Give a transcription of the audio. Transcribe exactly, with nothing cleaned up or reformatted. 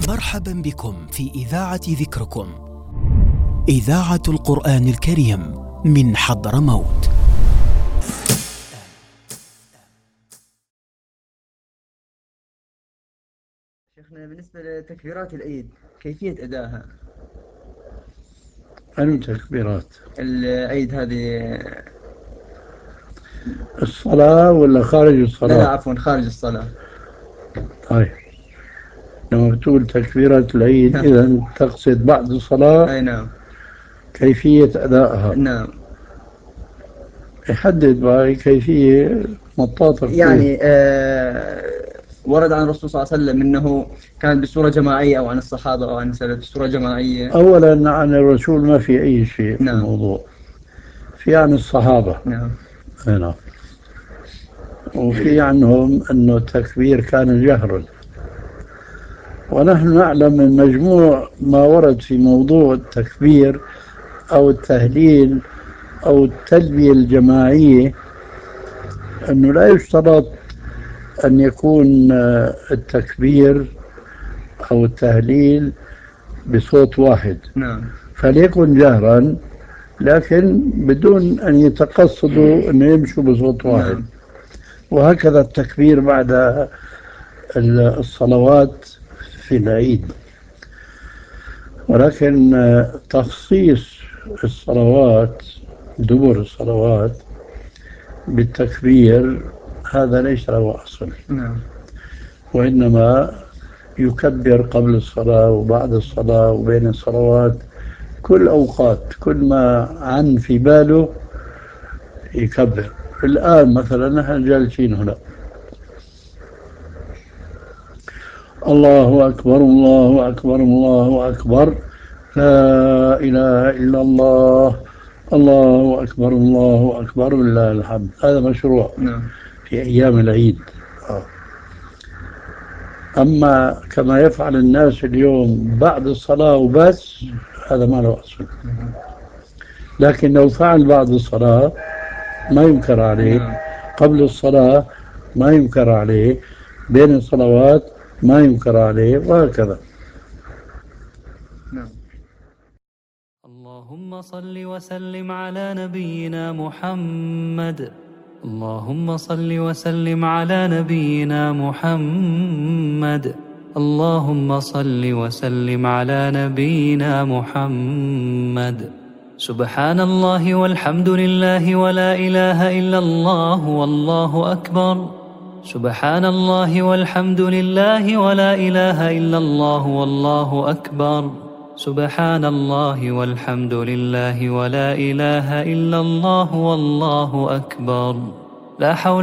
مرحبا بكم في إذاعة ذكركم، إذاعة القرآن الكريم من حضرموت. شيخنا، بالنسبة لتكبيرات العيد كيفية أداها؟ أنو تكبيرات العيد هذه الصلاة ولا خارج الصلاة؟ لا لا عفوا، خارج الصلاة. طيب، لما بتقول تكبيرات العيد إذا تقصد بعد الصلاة؟ أي نعم. كيفية أدائها؟ نعم. يحدد بهاي كيفية مطاطة يعني آه ورد عن الرسول صلى الله عليه وسلم أنه كان بصورة جماعية، أو عن الصحابة أو عن سلف بصورة جماعية. أولا عن الرسول ما في أي شيء في نعم. الموضوع، في عن الصحابة. نعم. هنا وفي عنهم أنه التكبير كان جهرا، ونحن نعلم من مجموع ما ورد في موضوع التكبير أو التهليل أو التلبية الجماعية أنه لا يشترط أن يكون التكبير أو التهليل بصوت واحد. نعم. فليكن جهرا، لكن بدون أن يتقصدوا أن يمشوا بصوت واحد. نعم. وهكذا التكبير بعد الصلوات في العيد. ولكن تخصيص الصلوات دبر الصلوات بالتكبير هذا ليس له أصل. نعم. وإنما يكبر قبل الصلاة وبعد الصلاة وبين الصلوات، كل أوقات كل ما عن في باله يكبر. الآن مثلا نحن جالسين هنا، الله أكبر الله أكبر الله أكبر، لا إله إلا الله، الله أكبر الله أكبر ولله الحمد. هذا مشروع. نعم. في أيام العيد. آه. أما كما يفعل الناس اليوم بعد الصلاة وبس، هذا ما له أصل. لكن لو فعل بعد الصلاة ما ينكر عليه. نعم. قبل الصلاة ما ينكر عليه، بين الصلوات ما ينكر عليه، وهكذا. نعم. اللهم صل وسلم على نبينا محمد. اللهم صل وسلم على نبينا محمد. اللهم صل وسلم على نبينا محمد. سبحان الله والحمد لله ولا إله إلا الله والله أكبر. سبحان الله والحمد لله ولا إله إلا الله والله أكبر. سبحان الله والحمد لله ولا إله إلا الله والله أكبر. لا حول